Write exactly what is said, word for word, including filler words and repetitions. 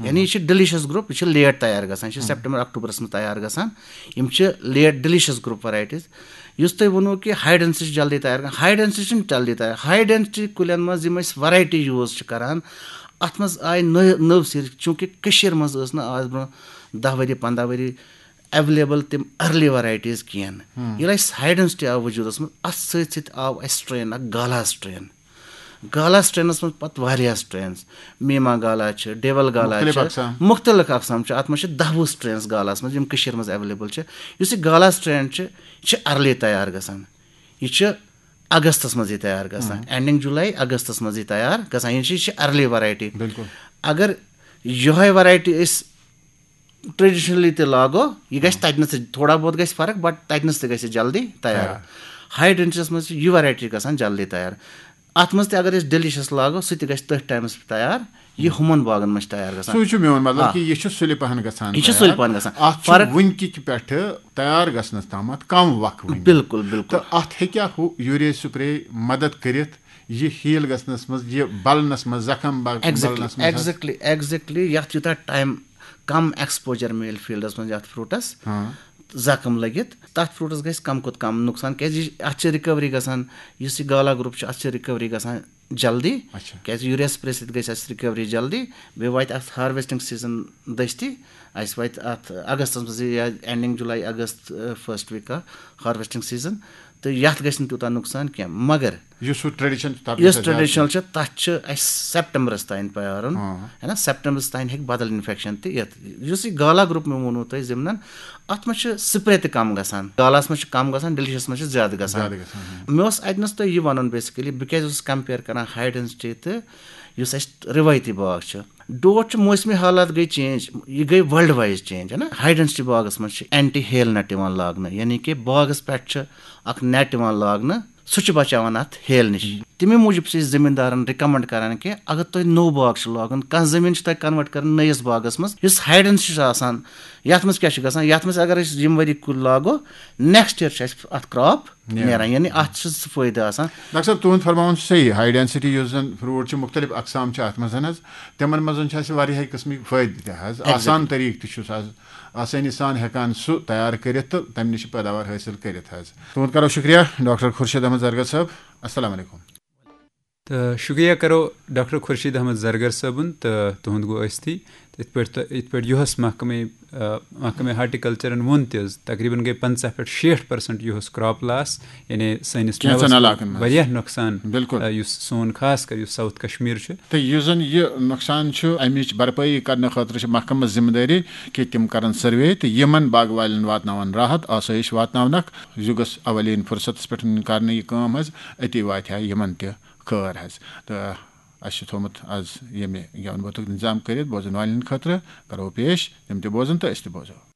یعنی یہِ چھِ ڈیلیشس گروپ، یہِ چھِ لیٹ تیار گژھان، یہِ چھِ سیپٹمبر اکتوبرس منٛز تیار گژھان۔ یِم چھِ لیٹ ڈیلیشس گروپ ورایٹیز۔ یُس تُہۍ ووٚنوُ کہِ ہاے ڈینسٹی چھِ جلدی تیار گژھان، ہاے ڈینسٹی چھِنہٕ جلدی تیار۔ ہاے ڈینسٹی کُلٮ۪ن منٛز یِم أسۍ ورایٹی یوٗز چھِ کران، اتھ منٛز آیہِ نٔو نٔو سیٖر، چوٗنٛکہِ کٔشیٖر منٛز ٲس نہٕ آز برونٛہہ دَہ ؤری، پنٛداہ ؤری ایویلیبل تِم ارلی ورایٹیز کینٛہہ۔ ییٚلہِ اَسہِ ہاے ڈینسٹی آو وجوٗدس منٛز، اتھ سۭتۍ سۭتۍ آو اَسہِ سٹرین اکھ، گالا سٹرین۔ گالا سٹرینس منٛز پتہٕ واریاہ سٹرینز، میما گالا چھِ، ڈیول گالا مُختٔلِف چھِ، اقسام۔ مُختٔلِف اقسام چھِ۔ اتھ منٛز چھِ دَہ وُہ سٹرینز گالاہس منٛز، یِم کٔشیٖر منٛز ایویلیبل چھِ۔ یُس یہِ گالا سٹرین چھِ، یہِ چھِ ارلی تیار گژھان۔ یہِ چھِ اگستس منٛز یہِ تیار گژھان، اینڈنگ جولائی، اگستس منٛز یہِ تیار گژھان۔ یہِ چھِ، یہِ چھِ ارلی ورایٹی۔ بِلکُل۔ اگر یِہوٚے ورایٹی أسۍ ٹریڈیشنلی تہِ لاگو، یہِ گژھِ تتہِ نَس تہِ تھوڑا بہت گژھِ فرق، بٹ تتہِ نَس تہِ گژھِ جلدی تیار۔ تیار۔ ہاے ڈینسٹیس منٛز چھِ یہِ ورایٹی گژھان جلدی تیار۔ اتھ منٛز تہِ اگر أسۍ ڈیلیشس لاگو، سُہ تہِ گژھِ تٔتھۍ ٹایمس پٮ۪ٹھ تیار، یہِ ہُمن باغن منٛز چھِ تیار گژھان۔ سُے چھُ میون مطلب آ۔ کہِ یہِ چھُ سُلہِ پہن گژھان یہِ چھُ تیار۔ سُلہِ پہن گژھان۔ اتھ چھُ فرق وٕنکہِ کہِ پٮ۪ٹھٕ تیار گژھنس تامتھ کم وق وٕنہِ۔ بِلکُل، بِلکُل۔ تہٕ اتھ ہیٚکیٛاہ ہُہ یوٗریا سپرے مدد کٔرِتھ یہِ ہیل گژھنس منٛز، یہِ بلنس منٛز، زخم بل-، exactly، بلنس منٛز حظ؟ Exactly، exactly۔ یتھ یوٗتاہ ٹایم کم ایکسپوجر میلہِ فیلڈس منٛز یتھ فروٹس، ہاں۔ زخم لٔگِتھ، تتھ فروٹس گژھِ کم کھۄتہٕ کم نقصان، کیازِ یہِ، اتھ چھِ ریکوری گژھان، یُس یہِ گالا گروپ چھُ، اتھ چھِ ریکوری گژھان جلدی، اچھا۔ کیازِ یوٗریا سپرے سۭتۍ گژھِ اَسہِ ریکوری جلدی۔ بیٚیہِ واتہِ اَتھ ہارویسٹنگ سیزن دٔستی، اَسہِ واتہِ اَتھ اگستس منٛز یا ending July, August, first week of harvesting season, تہٕ یَتھ گژھِ نہٕ تیوٗتاہ نۄقصان کینٛہہ۔ مگر یُس سُہ ٹریڈیشن چھُ، تَتھ یُس گژھِ اَسہِ ٹریڈیشنل چھُ، تَتھ چھُ اَسہِ سیپٹمبرس تام پیارُن، ہاں۔ ہے نا، سیپٹمبرس تام ہیٚکہِ بدل انفیکشن تہِ یِتھ۔ یُس یہِ گالا گروپ مےٚ ووٚنوُ تۄہہِ ضمنن، اَتھ منٛز چھُ سپرے تہِ کم گژھان، گالاہس منٛز چھُ کم گژھان، ڈیلیشس منٛز چھُ زیادٕ گژھان۔ زیادٕ گژھان، ہاں۔ مےٚ اوس اتہِ نس تۄہہِ یہِ ونُن، بیسکلی بہٕ کیازِ اوسُس کمپیئر کران ہاے ڈینسٹی تہٕ یُس اسہِ روایتی باغ چھُ۔ ڈوٹھ چھُ موسمی حالات گٔے چینج، یہِ گٔے ورلڈ وائز چینج، ہے نا؟ ہاے ڈینسٹی باغس منٛز چھِ اینٹی ہیل نیٹ یِوان لاگنہٕ، یعنی کہِ باغس پٮ۪ٹھ چھُ اکھ نیٹ یِوان لاگنہٕ، سُہ چھُ بچاوان اتھ ہیل نِش۔ تَمے موٗجوٗب چھِ أسۍ زٔمیٖندارَن رِکَمنٛڈ کران کہِ اگر تۄہہِ نوٚو باغ چھُ لاگُن، کانٛہہ زٔمیٖن چھِ تۄہہِ کنوٲرٹ کَرٕنۍ نٔیِس باغَس منٛز، یُس ہاے ڈینسٹی چھُ آسان، یَتھ منٛز کیٛاہ چھُ گژھان؟ یَتھ منٛز اگر أسۍ یِم ؤری کُلۍ لاگو، نیکسٹ ییر چھُ اَسہِ اَتھ کرٛاپ نیران۔ نیران، یعنی اَتھ چھُ سُہ فٲیدٕ آسان۔ ڈاکٹر صٲب، تُہُنٛد فرماوُن چھُ صحیح، ہاے ڈینسٹی یُس زَن فروٹ چھُ، مُختٔلِف اقسام چھِ اَتھ منٛز حظ، تِمَن منٛز چھِ اَسہِ واریاہَے قٕسمٕکۍ فٲیدٕ تہِ حظ، exactly۔ آسان طریٖقہٕ تہِ چھُس حظ آسٲنی سان ہٮ۪کان سُہ تیار کٔرِتھ تہٕ تَمہِ نِش چھِ پیداوار حٲصِل کٔرِتھ حظ۔ تُہُنٛد کرو شُکریہ، ڈاکٹر خورشید احمد زرگر صٲب۔ السلام علیکم۔ تہٕ شُکریہ کرو ڈاکٹر خورشید احمد زرگر صٲبُن تہٕ تُہُنٛد گوٚو ٲستی۔ تہٕ یِتھ پٲٹھۍ تۄ-، یِتھ پٲٹھۍ یُہس محکمے، آ، محکمے ہارٹیکلچرن ووٚن تہِ حظ، تقریباً گٔے پنٛژاہ پٮ۪ٹھ شیٹھ پرسنٹ یُہس کرٛاپ لاس، یعنی سٲنِس کینٛژن مٮ۪وس منٛز علاقن منٛز۔ واریاہ نۄقصان۔ بِلکُل۔ آ، یُس سون خاص کر یُس ساوُتھ کشمیر چھُ۔ تہٕ یُس زن یہِ نۄقصان چھُ، امِچ بھرپٲیی کرنہٕ خٲطرٕ چھِ محکمس ذمہٕ دٲری کہِ تِم کرن سروے تہٕ یِمن باغہٕ والٮ۪ن واتناون راحت، آسٲیِش واتناونکھ۔ یہِ گوٚژھ اولین فرصتس پٮ۪ٹھ کرنہٕ یہِ کٲم حظ، أتی واتہِ ہا یِمن تہِ خٲر حظ۔ تہٕ اَسہِ چھُ تھوٚومُت آز ییٚمہِ گٮ۪وَن بٲتُک اِنتظام کٔرِتھ بوزَن والٮ۪ن خٲطرٕ۔ کَرو پیش، تِم تہِ بوزَن تہٕ أسۍ تہِ بوزو۔